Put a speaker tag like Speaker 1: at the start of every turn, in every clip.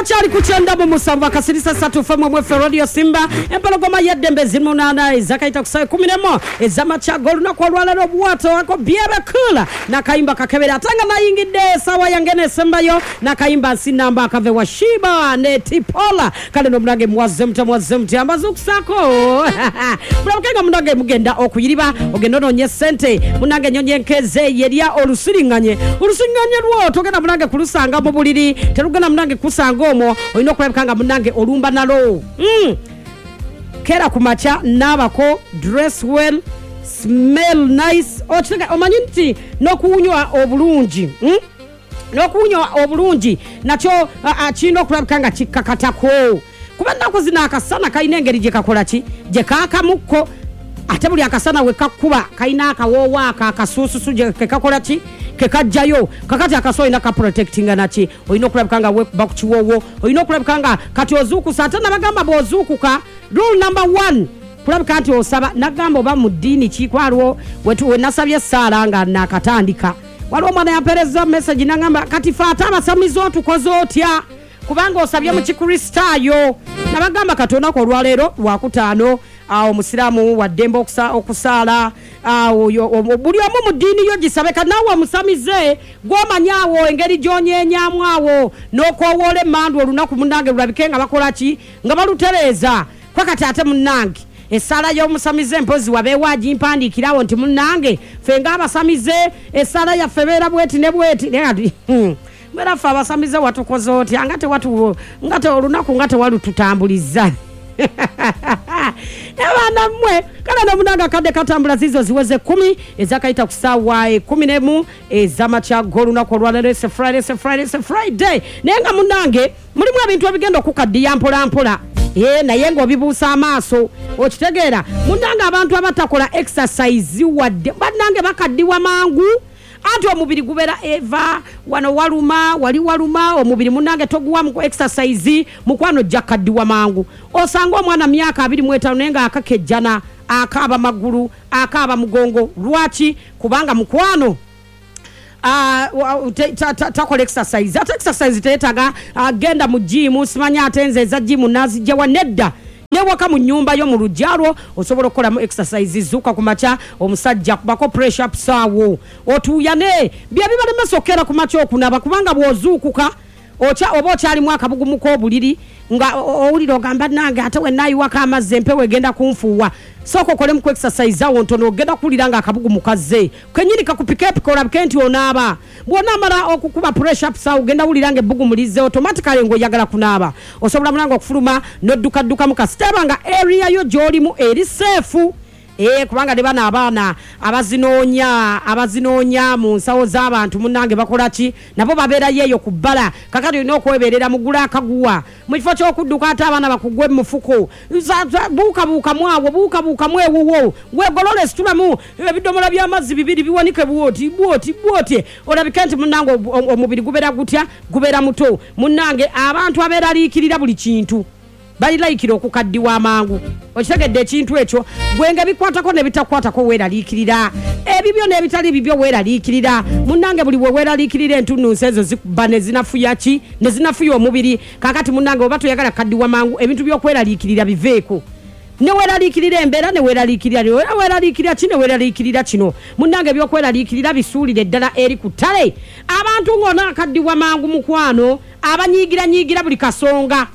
Speaker 1: Okyali ku 97 akasirisa 3 FM mwefe Radio Simba. Empologoma y'eddembe ziri munaana ezakayita ku ssaawa 11 ez'amakya g'olunaku olwaleero. Obuwato ako byebekula n'akayimba kakebera, ate nga nayingidde essaawa yange n'esembayo n'akayimba nsinamba akave wa Shiba ne Tipola. Kale n'omunange muwazze mutya, muwazze mutya, mbazuukusaako mulabuke nga munange mugenda okuyiriba ogenda onoonye ssente. Munange ennyonyi enkeeze yerya olusiriŋŋanye, olusiriŋŋanye lwo togenda munange kulusanga mu buliri, terugenda munange kusanga omwo, olina okulabika nga munange olumba nalo. Kera ku makya naabako, dress well, smell nice. Okitega omanyi nti n'okuwunywa obulungi, N'okuwunya obulungi nakyo kirina okulabika nga kikkakatako, kuba ennaku zino akasana kalina engeri gye kakola ki, gye kaakamukko, ate buli akasana we kakkuba kalina akawoowo ako akasuususu gye kekakola ki, kekajjayo. Kakati akaso olina kaprotectinga naki, olina okulabika nga weekuba ku kiwoowo, olina okulabika nga kati ozuukusa. Ate nabagamba bw'ozuukuka, rule number 1 kulabika nti osaba. Nagamba oba mu ddiini ki, kwaliwo we nasabye essaala nga nakatandika, waliwo omwana yampeereza message nagamba kati fe ate abasamize otukoze otya kubanga osabye mu Kikristaayo. Nabagamba kati olunaku olwaleero Lwakutaano, awo omusiraamu waddembe okusaala, awo buli omu mu ddiini yo gisabe. Kati naawe omusamize gw'omanyi awo engeri gy'onyeenyamu awo n'okoowoola emmandu olunaku munnange lulabike nga bakola ki, nga balutereeza. Kwa kati ate munnange essaala y'omusamize mpozi wabeewo agimpandiikira awo nti munnange ffe ng'abasamize essaala yaffe ebeera bweti ne bweti. Naye kati mbeera ffe abasamize watukoze otya nga tewatu, nga te olunaku nga tewalututambuliza. Naye baana mmwe, kale nomunange akadde katambula, ziizo ziweze 10 ezakayita ku ssaawa 11 ez'amakya g'olunaku olwaleero. Ese Friday, ese Friday, ese Friday. Naye nga munnange mulimu ebintu ebigenda okukaddiya mpola mpola, naye ng'obibuusa amaaso. Okitegeera munnange, abantu abatakola exercise wadde bannange bakaddiwa mangu, anti omubiri gubeera eva wano waluma wali waluma, omubiri munnange toguwa mu exercise, mukwano ojja kukaddiwa mangu. Osanga omwana myaka 25 naye nga akakejjana, akaaba magulu, akaaba mugongo. Lwaki? Kubanga mukwano takola exercise. Ate exercise teyetaaga genda mu gym, simanya ate nze eza gym nazijjawa. Nedda, newaka mu nnyumba yo mu luggya lwo osobola okukolamu exercise. Zuuka ku makya, omusajja kubako press ups awo otuuyane. Bye bibalemesa okukeera ku makya okunaba, kubanga bw'ozuukuka oba okyalimu akabugumu k'obuliri nga owulira ogamba nange ate wenaayiwako amazzi empewo egenda kunfuuwa. Sooka okolemu ku exercise awo ntono, ogenda kuwulira nga akabugumu kazze kenyini kakupikeepike olabike nti onaaba. Bw'onaamala okukuba press ups awo ogenda wulira nga ebbugumu lizze automatically ng'oyagala kunaaba. Osobola mulanga okufuluma n'oddukaddukamu kasita eba nga area yo gy'olimu eri safe. Kubanga ne bano abaana abazinoonya mu nsawo z'abantu munnange bakola ki, nabo babeerayo eyo ku bbala. Kakati olina okweberera, mugule akaguwa mu kifo ky'okudduka ate abaana bakugwe mu mufuko. Buukabuukamu awo, buukabuukamu ewuwo, weegolole, situlamu ebidomola by'amazzi bibiri biwanike bwoti bwoti bwoti, olabike nti munnange omubiri gubeera gutya, gubeera muto. Munnange abantu abeeraliikirira buli kintu balilayikira okukaddiwa amangu. Okitegedde ekintu ekyo? Gwe nga bikwatako ne bitakwatako weeraliikirira, ebibyo n'ebitali bibyo weeraliikirira. Munnange buli we weeraliikirira entunnunsi ezo zikuba ne zinafuya ki, ne zinafuya omubiri. Kaakati munnange oba toyagala kukaddiwa mangu, ebintu by'okweraliikirira biveeko. Ne weeraliikirira embeera, ne weeraliikirira, ne weeraliikirira ki, ne weeraliikirira kino. Munnange eby'okweraliikirira bisuulire ddala eri ku ttale. Abantu ng'onaakaddiwa mangu mukwano, abanyiigiranyiigira buli kasonga.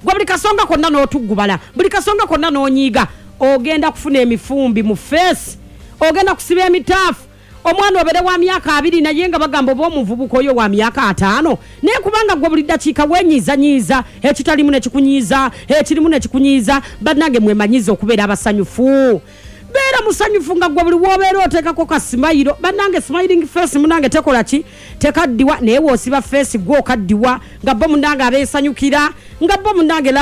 Speaker 1: Gwe buli kasonga konna n'otuggubala, buli kasonga konna n'onyiiga, ogenda kufuna emifumbi mu feesi, ogenda kusiba emitaafu. Omwana obeere wa myaka 20 naye nga bagamba oba omuvubuka oyo wa myaka 50, naye kubanga gwe buli ddakiika weenyiizanyiiza, ekitalimu ne kikunyiiza, ekirimu ne kikunyiiza. Bannange mwemanyize okubeera abasanyufu. Beera musanyufu nga gwe buli w'obeera oteekako ka simayiro. Bannange smiling face munnange tekola ki, tekaddiwa, naye w'osiba feesi gwe okaddiwa nga bo munnange abeesanyukira, nga bo munnange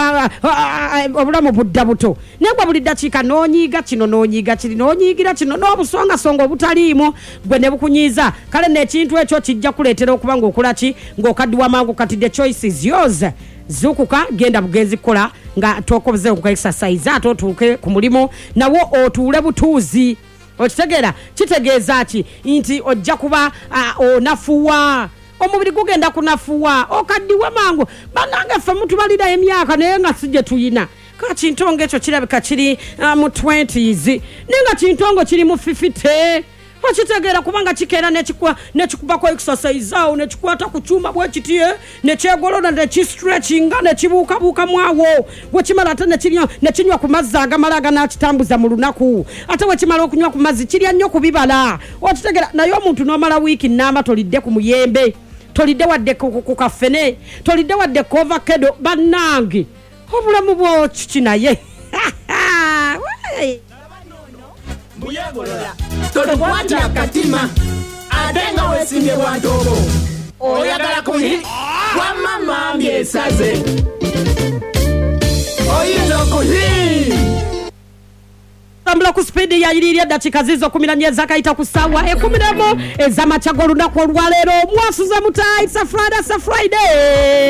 Speaker 1: obulamu budda buto. Naye gwe buli ddakiika n'onyiiga kino, n'onyiiga kiri, n'onyiigira kino, n'obusongasonga obutaliimu gwe ne bukunyiiza. Kale nno ekintu ekyo kijja kuleetera okuba ng'okola ki, ng'okaddiwa mangu. Kati the choice is yours. Zuukuka, genda bugenzi kukola nga tokoze ku exercise, ate otuuke ku mulimu nawo otuule butuuzi. Okitegeera? Kitegeeza ki? Nti ojja kuba onafuwa. Omubiri gugenda kunafuwa, okaddiwe mangu. Bannange, ffe mutubalira emyaka naye nga si gye tuyina. Ka kintongo ekyo kirabika kiri mu 20s, naye nga kintongo kiri mu 50. Okitegeera? Kubanga kikeera nekikubako exercise awo, nekikwata ku kyuma bwekiti, nekyegolola, nekistretchinga, nekibuukabuukamu awo. Wekimala ate nekinywa ku mazzi agamala aganakitambuza mu lunaku. Ate wekimala okunywa ku mazzi, kirya nnyo ku bibala. Okitegeera? Naye omuntu n'omala wiiki namba tolidde ku muyembe, tolidde wadde ku kafene, tolidde wadde ku avocado. Bannange, obulamu bwokiki? Naye
Speaker 2: Mbuyegolola, totukwatya katima ate nga weesimbye bwantoobo. Oyagala kuyi wamma mambi esaze oyinza okuhi.
Speaker 1: Tambula ku sipiidi yayirira. Eddakiika zizo 14 ezakayita ku ssaawa 11 ez'amakya g'olunaku olwaleero. Mwasuze muta? It's a Friday, it's a Friday.